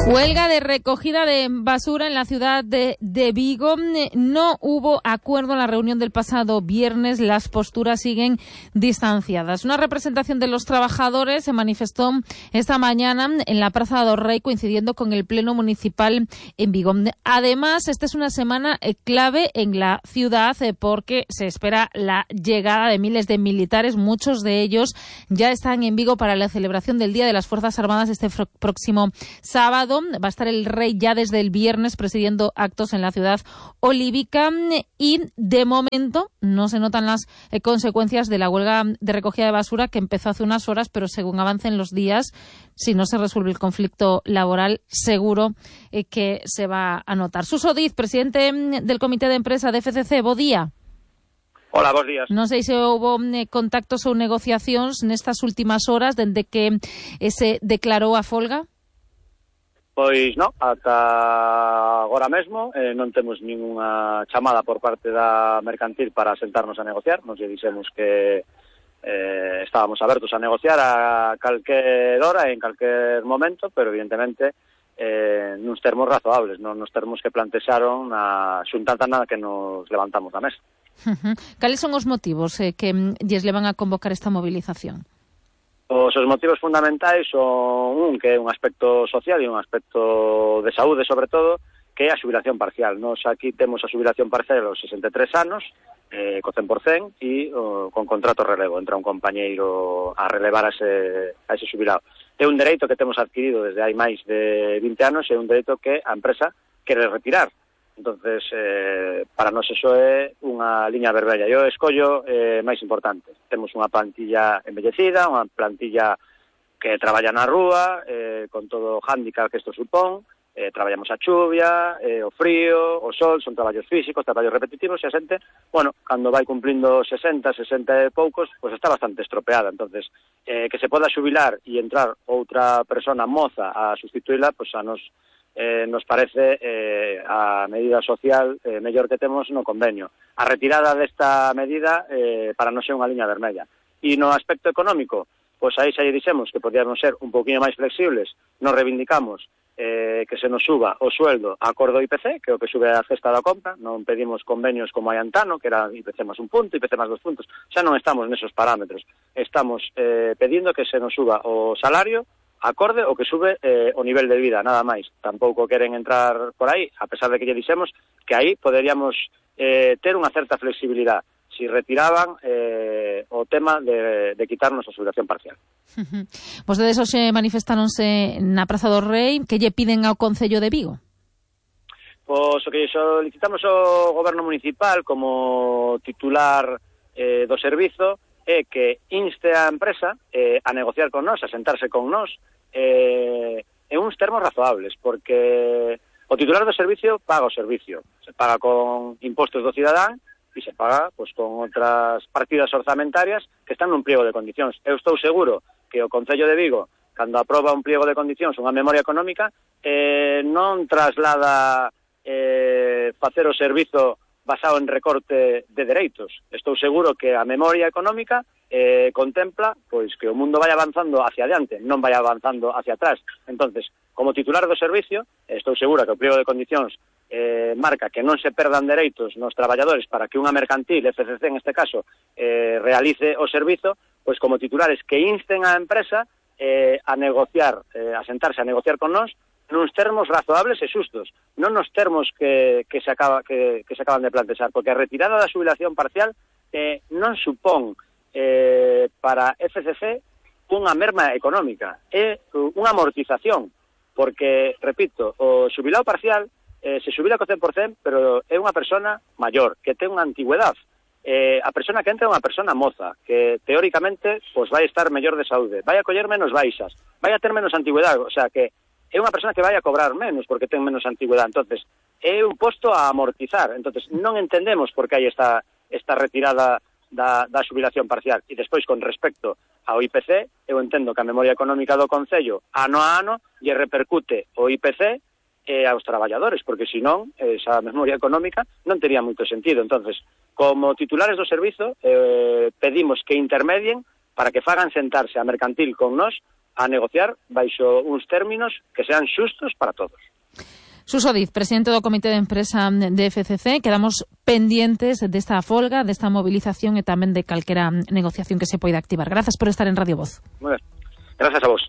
Huelga de recogida de basura en la ciudad de Vigo. No hubo acuerdo en la reunión del pasado viernes. Las posturas siguen distanciadas. Una representación de los trabajadores se manifestó esta mañana en la Praza do Rei, coincidiendo con el Pleno Municipal en Vigo. Además, esta es una semana clave en la ciudad porque se espera la llegada de miles de militares. Muchos de ellos ya están en Vigo para la celebración del Día de las Fuerzas Armadas este próximo sábado. Va a estar el rey ya desde el viernes presidiendo actos en la ciudad olívica y de momento no se notan las consecuencias de la huelga de recogida de basura que empezó hace unas horas, pero según avancen los días, si no se resuelve el conflicto laboral, seguro que se va a notar. Suso Diz, presidente del Comité de Empresa de FCC, bo día. Hola, bons días. Non sei se houve contactos ou negociacións nestas últimas horas dende que se declarou a folga? Pois non, ata agora mesmo non temos ninguna chamada por parte da mercantil para sentarnos a negociar. Nos lle dixemos que estábamos abertos a negociar a calquer hora e en calquer momento, pero evidentemente nuns termos razoables, non nos termos que plantexaron na xuntanza nada que nos levantamos da mesa. Cales son os motivos que lles levan a convocar esta movilización? Os motivos fundamentais son que é un aspecto social e un aspecto de saúde, sobre todo, que é a xubilación parcial. Nos aquí temos a xubilación parcial aos 63 anos, co 100% e con contrato relevo. Entra un compañeiro a relevar a ese xubilado. É un dereito que temos adquirido desde hai máis de 20 anos e é un dereito que a empresa quere retirar. Entonces, para nós eso é unha liña vermella. Eu escollo máis importante. Temos unha plantilla envellecida, unha plantilla que traballa na rúa, con todo o hándicap que isto supón. Traballamos a chuvia, o frío, o sol, son traballos físicos, traballos repetitivos, e a xente, bueno, cando vai cumplindo 60 e poucos, pues está bastante estropeada. Entonces, que se poda xubilar e entrar outra persona moza a sustituíla, pues a nos parece a medida social mellor que temos no convenio. A retirada desta medida para non ser unha liña vermella. E no aspecto económico, pois aí xa lle dixemos que podíamos ser un pouquinho máis flexibles. Nos reivindicamos que se nos suba o sueldo a acordo IPC, que é o que sube a cesta da compra. Non pedimos convenios como hai antano, que era IPC máis un punto, IPC máis 2 puntos. Xa non estamos nesos parámetros. Estamos pedindo que se nos suba o salario acorde o que sube o nivel de vida, nada máis. Tampouco queren entrar por aí, a pesar de que lle dixemos que aí poderíamos ter unha certa flexibilidade si retiraban o tema de quitarnos a xubilación parcial. Vostedes hoxe manifestáronse na Praza do Rei. Que lle piden ao Concello de Vigo? Pois o que solicitamos ao Goberno Municipal como titular do servizo é que inste a empresa a negociar con nós, a sentarse con nós en uns termos razoables, porque o titular do servicio paga o servicio, se paga con impostos do cidadán e se paga pues, con outras partidas orzamentarias que están nun pliego de condicións. Eu estou seguro que o Concello de Vigo, cando aproba un pliego de condicións, unha memoria económica, non traslada facer o servizo basado en recorte de dereitos. Estou seguro que a memoria económica contempla pois que o mundo vai avanzando hacia adiante, non vai avanzando hacia atrás. Entonces, como titular do servicio, estou segura que o pliego de condicións marca que non se perdan dereitos nos traballadores para que unha mercantil, FCC en este caso, realice o servizo, pois como titulares que insten á empresa a negociar, a sentarse a negociar con nós nuns termos razoables e xustos, non nos termos que se acaban de plantexar, porque a retirada da xubilación parcial non supón para FCC unha merma económica, é unha amortización, porque, repito, o xubilado parcial se xubila co 100%, pero é unha persona maior, que ten unha antigüedade. A persona que entra é unha persona moza, que teóricamente pues, vai estar mellor de saúde, vai a coller menos baixas, vai a ter menos antigüedade, o sea que é unha persona que vai a cobrar menos porque ten menos antigüedade. Entonces, é un posto a amortizar. Entonces, non entendemos por que hai esta retirada da xubilación parcial. E despois, con respecto ao IPC, eu entendo que a memoria económica do Concello, ano a ano, lle repercute o IPC aos traballadores, porque senón, esa memoria económica non tería moito sentido. Entonces, como titulares do servizo, pedimos que intermedien para que fagan sentarse a mercantil con nós a negociar baixo uns términos que sean xustos para todos. Suso Diz, presidente do Comité de Empresa de FCC, quedamos pendientes desta folga, desta movilización e tamén de calquera negociación que se poida activar. Grazas por estar en Radio Voz. Moi ben. Grazas a vos.